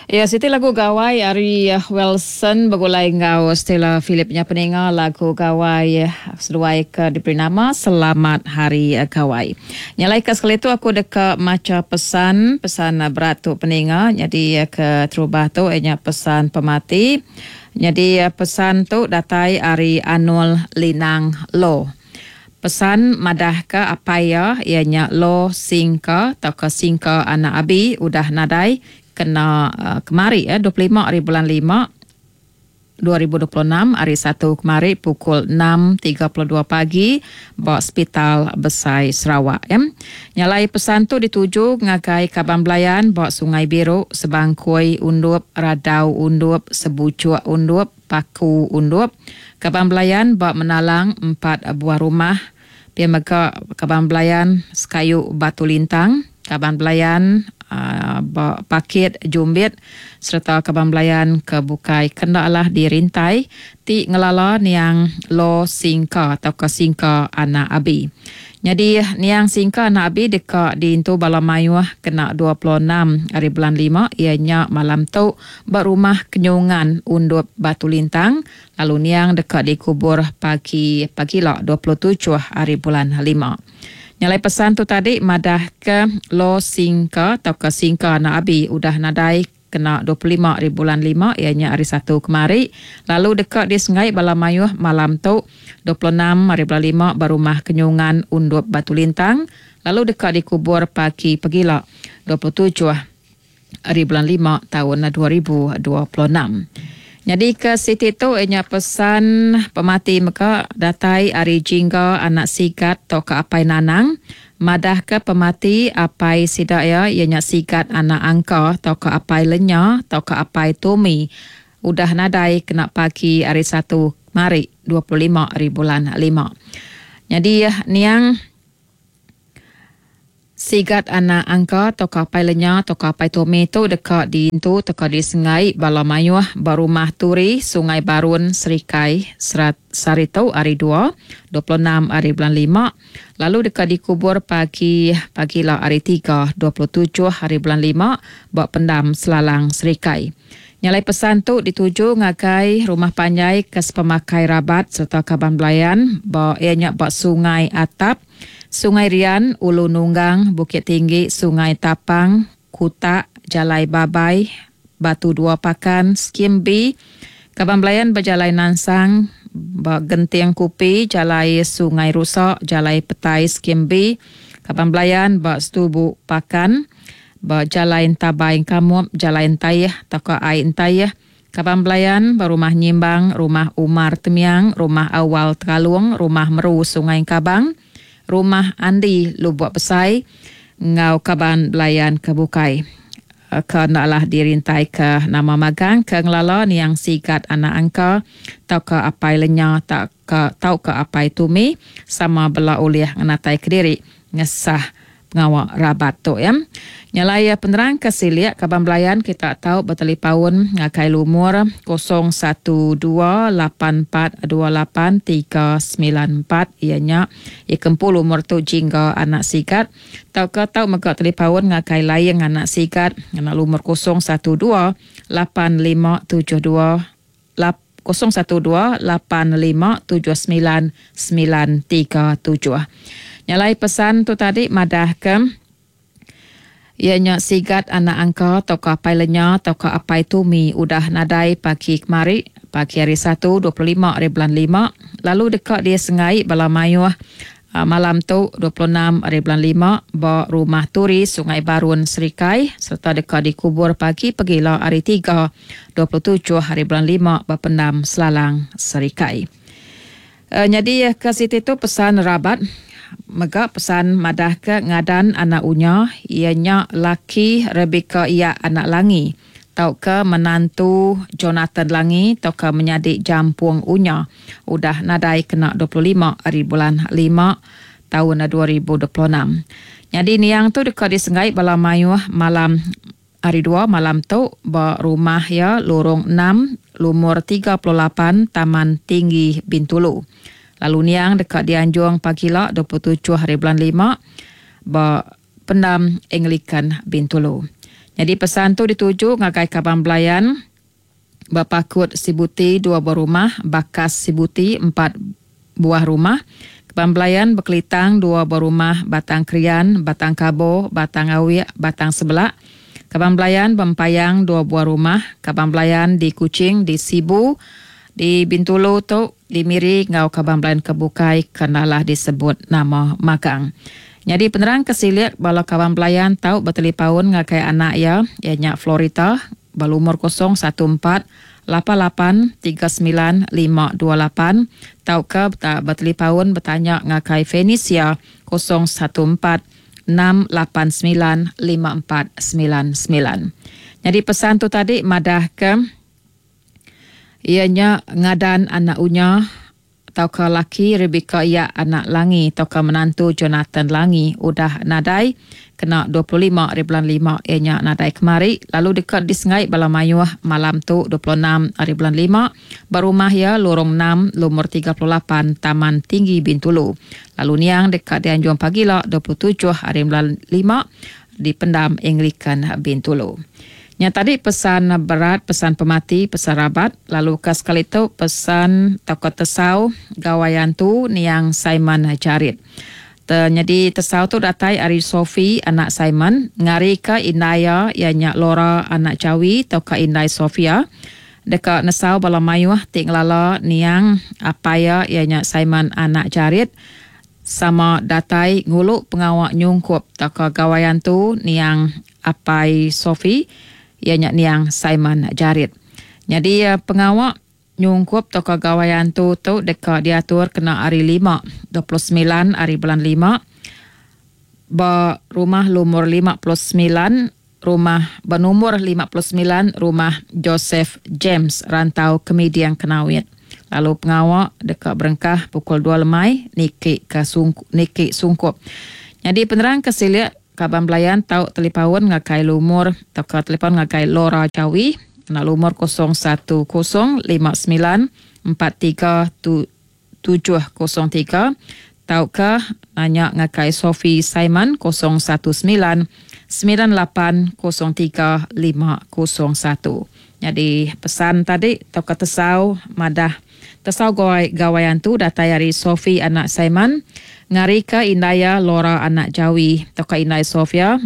Iya siti lagu gawai ari Welson begulai enggau Stella Philip nya peninga lagu gawai seduai ke diberi nama Selamat Hari Gawai. Nya alai ke sekali tu aku deka macha pesan pesan berat tu peninga nyadi ke terubah tu iya nya pesan pemati. Nyadi pesan tu datai ari Anol Linang Lo. Pesan madahka apai iya, iya nya Lo Singka tauka Singka anak Abi udah nadai kena kemari 25 ari bulan lima 2026 hari Satu kemari pukul enam tiga puluh dua pagi ba Sepital Besai Sarawak. Nya alai pesan tu dituju ngagai kaban belayan ba Sungai Biru, Sebangkoi Undup, Radau Undup, Sebuchuk Undup, Paku Undup, kaban belayan ba Menalang empat buah rumah, pia mega kaban belayan sekayu Batu Lintang, kaban belayan ba Pakit Jumbit sereta kaban belayan ke bukai ke enda alah dirintai ti ngelala niang Lo Singka tauka Singka Anak Abi. Nyadi, niang Singka anak Abi deka diintu bala mayuh kena 26 hari bulan lima iya nya malam tu ba Rumah Kenyungan Undup Batu Lintang lalu niang deka dikubur pagi pagila 27 hari bulan lima. Nya alai pesan tu tadi madahka Lo Singka tauka Singka anak Abi udah nadai Kena 25 ari bulan lima iya nya hari Satu kemari lalu deka disenggai bala mayuh malam tu, 26 ari bulan lima ba Rumah Kenyungan Undup Batu Lintang lalu deka dikubur pagi pegila, 27 ari bulan lima taun 2026. Nyadi ke siti tu iya nya pesan pemati mega datai ari Jingga anak Sigat tauka Apai Nanang Madahka pemati apai sida iya, iya nya Sigat anak Angka tauka apai Lenya tauka apai Tomi udah nadai kena pagi hari Satu kemari 25 ari bulan lima. Nyadi niang Sigat anak Angka tauka apai Lenya tauka apai Tomi tu deka diintu tauka disenggai bala mayuh ba Rumah Turi, Sungai Barun, Serikai, sehari tu hari Dua, 26 ari bulan lima. Lalu deka dikubur pagi pagila hari Tiga, 27 hari bulan lima ba Pendam Selalang Serikai. Nya alai pesan tu dituju ngagai rumah panjai ke sepemakai rabat sereta kaban belayan ba iya nya ba Sungai Atap, Sungai Rian, Ulu Nunggang, Bukit Tinggi, Sungai Tapang, Kutak, Jalai Babai, Batu Dua Pakan, Skim B, Kaban Belayan ba Jalai Nansang, ba Genting Kupi, Jalai Sungai Rusa, Jalai Petai Skim B, Kaban Belayan ba Setubu Pakan, ba Jalai Entabai Engkamup, Jalai Entaih tauka Ai Entaih, Kaban Belayan ba Rumah Nyimbang, Rumah Umar Temiang, Rumah Awal Tekalung, Rumah Meru Sungai Engkabang, Rumah Andi Lubok Besai enggau kaban belayan ke bukai ke enda alah dirintaika nama magang ke ngelala niang Sigat anak Angka tauka apai Lenya tauka tauka apai Tumi sama bela ulih ngenatai kediri ngesah pengawa rabat tu ya. Nya alai penerang ke silik kaban belayan kita tau betalipaun ngagai lumur 012 8 4 2 8 3 9 4 iya nya ikempu lumur tu Jingga anak Sigat tauka tau mega talipaun ngagai Laing anak Sigat ngena lumur 012 8 5 7 2 012 8 5 7 9 9 3 7. Nya alai pesan tu tadi madahka iya nya Sigat anak Angka tauka apai Lenya tauka apai Tumi udah nadai pagi kemari pagi hari Satu 25 ari bulan lima lalu deka disenggai bala mayuh Malam tu, 26 ari bulan lima, ba Rumah Turi, Sungai Barun, Serikai sereta deka dikubur pagi pegila hari Tiga, 27 ari bulan lima ba Pendam Selalang, Serikai. Nyadi ke siti tu pesan rabat mega pesan madahka ngadan anak Unya iya nya laki Rebecca Iyak anak Langi. Tauka menantu Jonathan Langi tauka menyadi Jampung Unya udah nadai kena 25 ari bulan lima taun 2026. Nyadi niang tu deka disenggai bala mayuh malam Hari Dua malam tu ba rumah iya Lorong enam Lumur 38 Taman Tinggi Bintulu. Lalu niang deka dianjung pagila 27 hari bulan lima ba Pendam Anglican Bintulu. Nyadi pesan tu dituju ngagai kaban belayan ba Pakut Sibuti dua buah rumah, Bakas Sibuti empat buah rumah, kaban belayan Bekelitang dua buah rumah, Batang Krian, Batang Kabo, Batang Awik, Batang Sebelak, kaban belayan Bempayang dua buah rumah, kaban belayan di Kuching, di Sibu, di Bintulu tu, di Miri enggau kaban belayan ke bukai ke enda alah disebut nama magang. Nyadi penerang ke silik bala kaban belayan tau betelipaun ngagai anak iya, iya nya Florita, ba lumur 014 lapan lapan 39 528 tauka betelipaun betanya ngagai Fenisia 014 689 5499. Nyadi pesan tu tadi madahka iya nya ngadan anak Unya tauka laki Rebecca iya anak Langi tauka menantu Jonathan Langi udah nadai kena 25 hari bulan lima iya nya nadai kemari lalu deka disengai bala mayuh malam tu 26 hari bulan lima ba rumah iya Lorong enam Lumur 38 Taman Tinggi Bintulu lalu niang deka dianjung pagila 27 hari bulan lima di Pendam Anglican Bintulu. Nya tadi pesan berat, pesan pemati, pesan rabat, lalu ke sekali tu pesan tauka tesau Gawai Antu niang Simon Jarit. Te nyadi tesau tu datai ari Sophie anak Simon, ngarika indai iya iya nya Laura anak Jawi tauka indai Sophia deka nesau bala mayuh ti ngelala niang apai iya iya nya Simon anak Jarit sama datai ngulu pengawa nyungkup tauka Gawai Antu niang apai Sophie iya nya niang Simon Jarit. Nyadi pengawa nyungkup tauka Gawai Antu tu deka diatur kena hari lima, 29 hari bulan lima ba rumah lumur 59 rumah ba numur 59 rumah Joseph James Rantau Kemiding Kenawit. Lalu pengawa deka berengkah pukul dua lemai niki ke niki sungkup. Nyadi penerang ke silik kaban belayan tau telipaun ngagai lumur tauka telipaun ngagai Laura Jawi ngena lumur 010 59 43 703 tauka nanya ngagai Sophie Simon 019 98 03 501. Nyadi pesan tadi tauka tesau madah tesau gawai gawai antu datai ari Sophie anak Simon ngarika indai iya Laura anak Jawi tauka indai Sophia.